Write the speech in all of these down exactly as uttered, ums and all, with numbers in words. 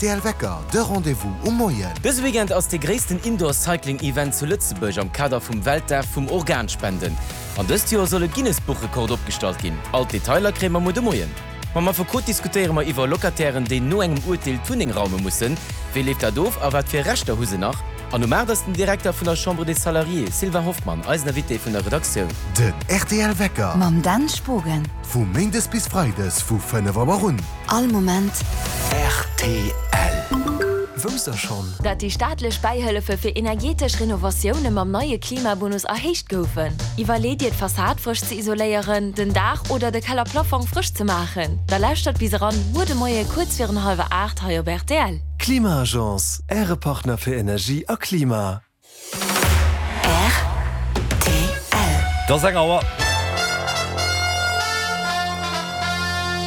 rtl Wecker, de Rendez-vous um Moien. Dëse Weekend ass dee gréissten Indoor Cycling Event zu Lëtzebuerg am Kader vum Weltdag vum Organspenden. An dëst Joer soll e Guinness-Buchrekord opgestallt ginn. All d'Detailer kréie mer muer de Moien. Mam Affekot diskutéiere mer iwwer Locatairen, déi no engem Urteel d'Wunneng raume mussen. Wéi leeft dat of a wat fir Rechter hu se nach? An um aacht ass den Direkter vun der Chambre des Salariés, Sylvain Hoffmann, eisen Invité vun der Redaktioun. Den rtl Wecker. Mam Dan Spogen. Vu méindes bis freides vu fënnef Auer un. All Moment. Rtl. Wousst der schonn? Dat déi staatlech Bäihëllefe fir energetesch Renovatioune mam neie Klimabonus erhéicht goufen? Iwwerleet Dir d'Fassad frësch ze isoléieren, den Daach oder de Kellerplafong frësch ze maachen? Da lauschtert bis eran muer de Moie kuerz virun hallwer aacht hei op rtl. Klima-Agence, Äre Partner fir Energie a Klima. Rtl. Et ass eng Auer.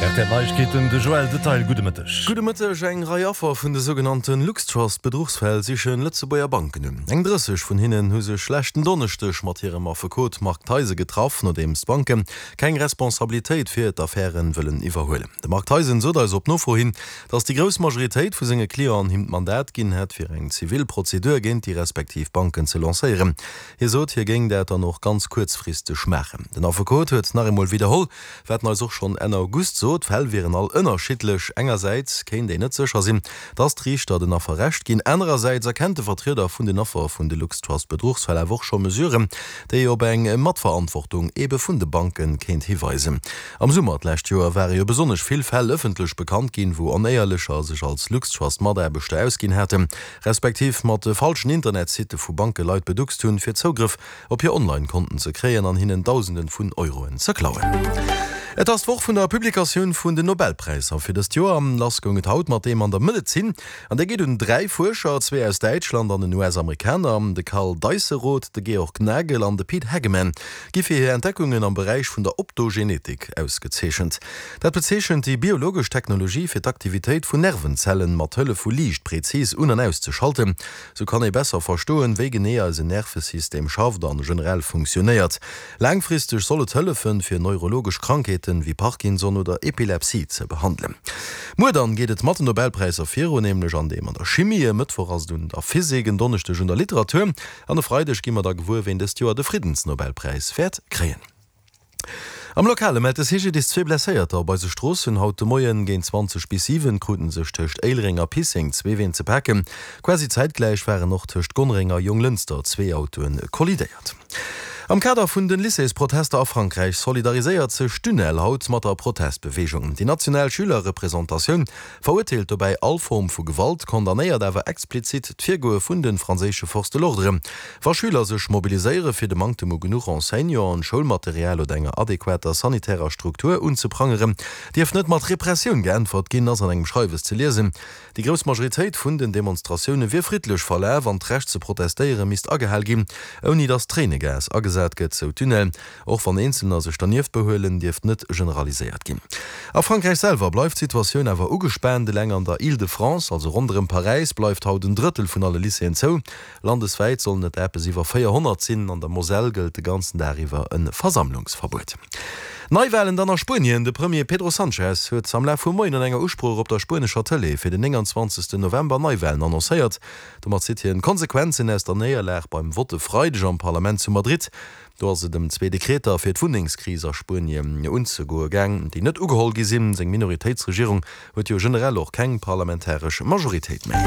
Rtl Neiegkeeten, de Joël Detail, gudde Mëtteg. Gudde Mëtteg. Eng Rei Affer vun de sougenannte LuxTrust-Bedruchsfäll siche Lëtzebuerger Banken un. Eng drësseg vun hinnen hu sech leschten Donneschdeg mat hirem Affekot Marc Theisen getraff, nodeems d'Banke keng Responsabilitéit fir d'Affäre wëllen iwwerhuelen. De Marc Theisen sot eis op Nofro hin, datt déi grouss Majoritéit vu senge Clienten him d'Mandat ginn hätt, fir eng zivil Prozedur géint déi respektiv Banken ze lancéieren. Hie sot, hie géing dat dann och ganz kuerzfristeg maachen. Den Affekot huet nach eemol widderholl, wat en eis och schonn Enn August sot, D'Fäll wieren all ënnerschiddlech. Engersäits kéint een net sécher sinn, datt d'Riichter den Affer Recht ginn. Anerersäits erkennt de Vertrieder vun den Affer vun de LuxTrust-Bedruchsfäll awer och scho Mesuren, déi op eng Matverantwortung ebe vun de Banke kéint hiweisen. Am Summer d'lescht Joer ware jo besonnesch vill Fäll ëffentlech bekannt ginn, wou Onéierlecher sech als LuxTrust-Mataarbechter ausginn haten, respektiv mat falschen Internetsitte vu Banke Leit beduckst hunn, fir Zougrëff op hir Online-Konten ze kréien an hinnen Dausenden vun Euroen ze klauen. Et ass d'Woch vun der Publikatioun vun den Nobelpräisser fir dëst Joer. Lass goung et haut mat deem an der Medezin. An dee geet un dräi Fuerscher, zwee aus Däitschland an en U S-Amerikaner. De Karl Deisseroth, de Georg Nagel an de Pete Hageman gi fir hir Entdeckungen am Beräich vun der Optogenetik ausgezeechent. Dat bezeechent déi biologesch Technologie fir d'Aktivitéit vun Nervenzellen mat Hëllef vu Liicht prezis un an auszeschalten. Sou kann ee besser verstoen, wéi genee eisen Nervesystem schafft an generell funktionéiert. Laangfristeg soll et hëllefen, fir neurologesch Krankheeten wéi Parkinson oder Epilepsie ze behandelen. Muer dann geet et mat den Nobelpräisser virun, nämlech an deem an der Chimie. E Mëttwoch ass et un der Physik, en Donneschdeg un der Literatur an e Freideg gi mer da gewuer, ween dëst Joer de Friddensnobelpräis wäert kréien. Am Lokale mellt de C G D I S zwee Blesséierter op eise Stroossen. Haut de Moien géint zwanzeg bis siwen kruten sech tëscht Éilereng a Pisseng zwee Ween ze paken. Quasi zäitgläich waren och tëscht Gonnereng a Jonglënster zwee Autoe kollidéiert. Am Kader vun den Lycéesprotester a Frankräich solidariséiert sech d'UNEL haut mat der Protestbeweegung. Déi national Schülerrepresentatioun verurteelt dobäi all Form vu Gewalt, condamnéiert awer explizit d'Virgoe vun de franséische Forces de l'ordre. Wa Schüler sech mobiliséiere fir de Manktem u genuch Enseignanten, Schoulmaterial oder enger adequater sanitärer Struktur unzeprangeren, dierf net mat Repressioun geäntwert ginn, ass an engem Schreiwes ze liesen. Déi grouss Majoritéit vun den Demonstratioune wier friddlech verlaf an d'Recht ze protestéiere misst agehal ginn, ouni datt Tréinegas agesat gëtt, sou d'UNEL. Och wann Eenzelner sech dernieft behuelen, dierft net generaliséiert ginn. A Frankräich selwer bleift d'Situatioun awer ugespaant. Eleng an der Île-de-France, also ronderëm Paräis, bleift haut en Drëttel vun alle Lycéeën zou. Landeswäit sollen et eppes iwwer véierhonnert sinn. An der Moselle gëllt de ganzen Dag iwwer e Versammlungsverbuet. Neiwalen dann a Spuenien, De Premier Pedro Sanchez huet am Laf vum Moien an enger Usprooch op der spuenescher Tëlee fir den nénganzwanzegsten November Neiwalen annoncéiert. Domat zitt hien d'Konsequenzen aus der Néierlag beim Vott e Freideg am Parlament zu Madrid. Do ass et ëm zwee Dekreter fir d'Wunnengskris a Spuenien unzegoe gaang, déi net ugeholl gi sinn. Seng Minoritéitsregierung huet jo generell och keng parlamentaresch Majoritéit méi.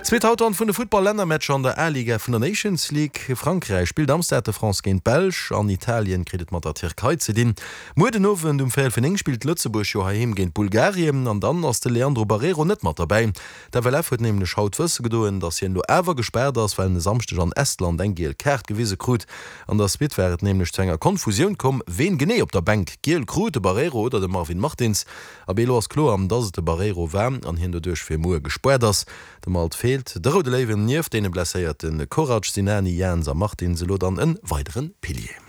Zweet haut dann vun de Futtball-Lännermatcher an der A-Liga vun der Nations League. Frankräich spillt am Stade de France géint d'Belsch an Italien kritt et mat der Tierkei ze dinn. Muer den Owend um véierel fir néng spillt Lëtzebuerg jo heiheem géint Bulgarien an dann ass de Leandro Barreiro net mat derbäi. D'F L F huet nämlech haut wësse gedoen, datt hien elo awer gespaart ass, well en e Samschdeg an Estland eng giel Kaart gewise krut. An der Suite war et nämlech zu enger Konfusioun komm, ween genee op der Bänk giel krut, de Barreiro oder de Marvin Martins. Abee, elo ass kloer, datt et de Barreiro war an hien doduerch fir muer gespaart ass. De Malt feelt de Roude Léiwen nieft deene blesséierte Korac, Sinani, Jans a Martins elo dann e weidere Pilier.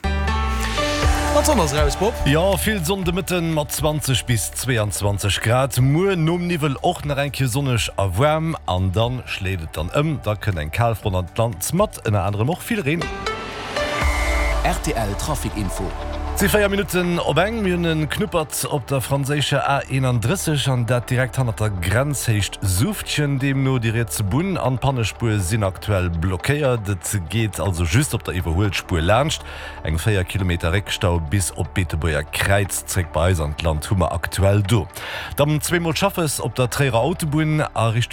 An d'Sonn ass eraus, Bob. Jo, vill Sonn de Mëtten mat zwanzeg bis zweeanzwanzeg Grad. Muer nom Niwwel och nach eng Kéier sonneg a waarm an dann schléit et dann ëm. Da kënnt eng Kalfront an d'Land mat ënner anerem och vill Reen. Rtl Trafic Info. Et si véier Minutten op eng. Mir hunn e Knuppert op der franséischer A eenandrësseg an dat direkt hannert der Grenz, Héicht Suuftchen. Deemno déi riets Bunn an d'Pannespuer sinn aktuell blockéiert. Et geet also just op der Iwwerhuelspuer laanscht. Eng véier Kilometer Réckstau bis op d'Beetebuerger Kräiz zréck bei eis an d'Land hu mer aktuell do. Dann zweemol Schaffes op der Tréierer Autobunn a Richtung.